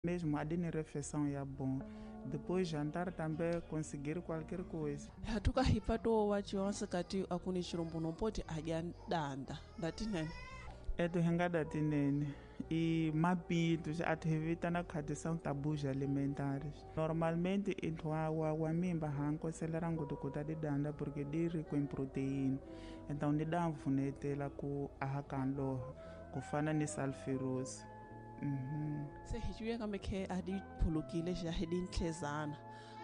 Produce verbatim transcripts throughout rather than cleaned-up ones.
Mesmo a de refeição é bom. Depois jantar também conseguir qualquer coisa. Hatuka hipato wa chionse kati akuni chirombo nompoti adya danda. Ndatinene. Eto hinga datinene. E mapitos atevitana khati são tabus alimentares. Normalmente intwa wa wa mimba hankoselera ngutukuta de danda porque de rico em proteína. Então de dá mfunetela ku ahakanlo kufana ni sulfurous. Mhm. Se hijuye kambe ke adi phulukile ja hidintlezana.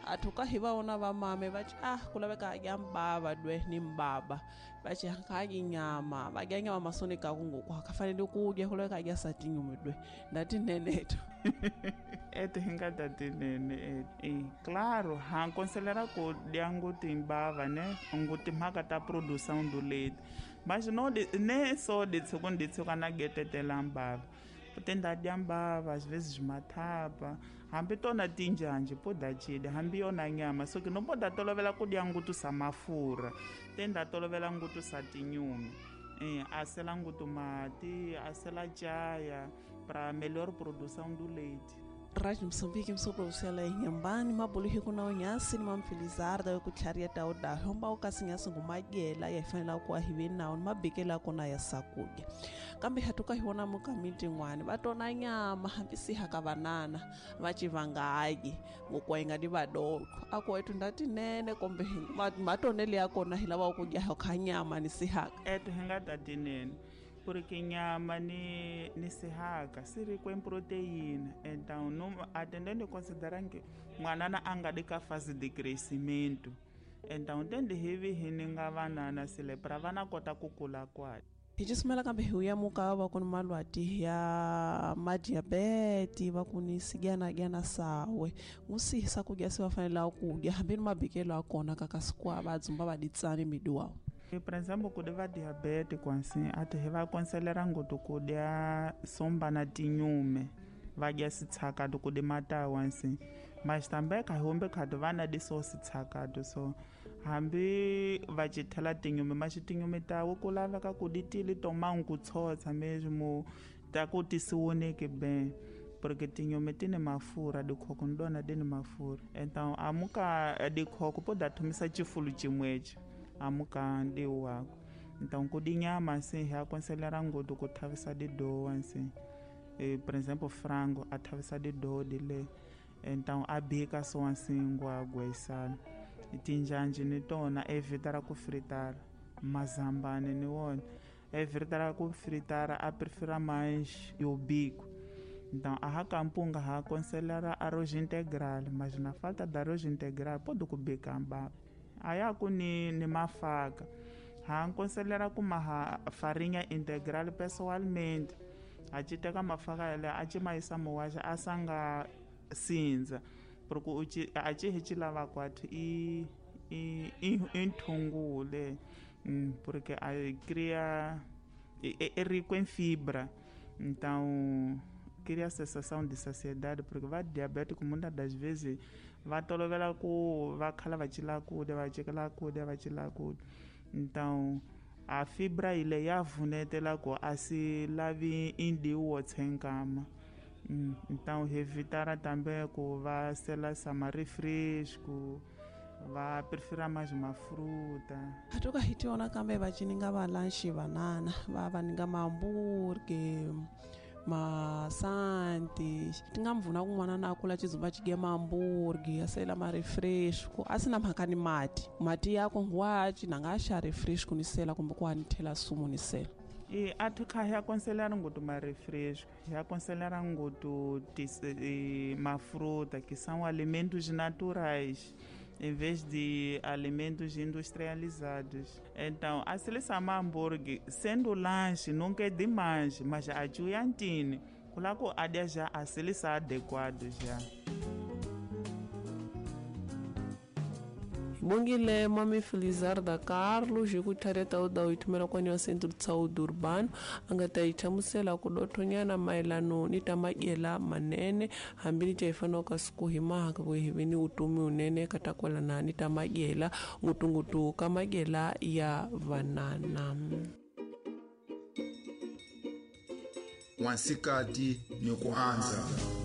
Atuka hivaona va mame va ci ah kulaveka adya mbava dwe ni mbaba va ci hankaki nyama va dya nyama masoni ka kungoku akafanele ku dya kulaveka adya satinyume dwe ndatineneto. Eto hinga datinene e claro hankonselera ku dya nguti mbava ne nguti mhaka ta produção do leite mas não de, nem só de segundo de na getetela mbava tenda dya mbava às vezes matapa hambi tona tinjanje poda chida hambi yona nyama so que não poda tolovela ku dya ngutu sa mafura tenda tolovela ngutu sa tinyume eh asela ngutu mati asela chaya para melhor produção do leite. Rádio Moçambique msoprosela inyambani mabuluhi kuna unyasi ni mamfelizarda yo kutlharia tauda homba ukasinyasi ngumadyela yafanela ku ahive nawo ni mabikela kona ya sakudya kambe hatuka hiona mukamiti n'wani va tona nyama hambi siha ka vanana va civangayi ngokwa yi nga di vadoko ako etu ndatinene kumbe matonele ya kona hi lava ku dya kha nyama ni sihaka etu hi nga tatinene porque nyama ni ni sihaka se rico em proteína. Então não atendendo considerando que mwanana anga de ka fase de crescimento. Então tende hivi hininga vanana sile para vana kota kukula kwa. Hijisumela kambe huya muka va kuni malwati ya madiabete va kuni sigana gana sawe ngusihisa kudya se va fanela kudya hambi ni mabikelo a kona kaka sikwa va dzumba va ditsani miduwa. Por exemplo, quando va diabetes assim, até vai aconselhar ngutu kudya somba na tinyume, vai dya sitsakado kude matawa assim. Mas também ka hombe khado vana de so sitsakado so hambi va chithela tinyume, mas tinyume tawo kulava ka kuditili toma nkutsotsa mesmo ta ku tisiwoneke bem. Porque tinyume tine mafura dikhoko ndona dini mafura. Então amuka dikhoko poda thumisa chifulu chimwecho. Amuka ndi wako. Então kudi nyama assim aconselhar ngutu kuthavisa de doa assim. E, por exemplo, frango athavisa de doa dile. Então a bika so assim ngwagwa isala. Tinjanje ni tona evitar ku fritar mazambane ni wona. Evitar ku fritar a prefira mais o bico. Então a racampunga ha aconselhar arroz integral, mas na falta de arroz integral pode kubika mbaba. Aya ku ni ni mafaka ha nkonselera ku maha farinha integral pessoalmente a ci teka mafaka yale a ci maisa muwaxa a sanga sindza porque u ci a ci hi ci lava kwathu i i i nthungule porque a cria é rico em fibra, então cria a sensação de saciedade, porque vai diabético muitas das vezes vai tolovela ku vai khala va chila ku va chikela ku va chila ku. Então a fibra ile ya vunetela ku a si lavi indiwo tsenkama. Então evitar também ku va sela samari fresco va prefira mais uma fruta. Hatuka hitiona kambe va cininga va lanche banana va va ninga mamburge masanti tinga mvuna kun'wana na kula chizumba chige mamburgi asela ma refresco asina mhaka ni mati mati yako ngwachi nanga xa refresco ni sela kumbe ku anithela sumu ni sela. E athu kha ya aconselhar ngutu ma refresco, ya aconselhar ngutu ma fruta que são alimentos naturais em vez de alimentos industrializados. Então, a seleção hambúrguer, sendo lanche, nunca é demais, mas a juiantine, coloco a já a seleção adequada já. Bongile mami Felizarda Carlos hi ku thareta u da u kwani wa Centro de Saúde Urbano a nga ta yi hlamusela ku dothonyana mayelano ni ta madyela manene hambi ni ta hi fanele ka siku hi mahaka ku hi ve ni vutomi wunene ka ta kwalana ni ta madyela ngutungutu ka madyela ya vanana. Wansikati ni ku andza.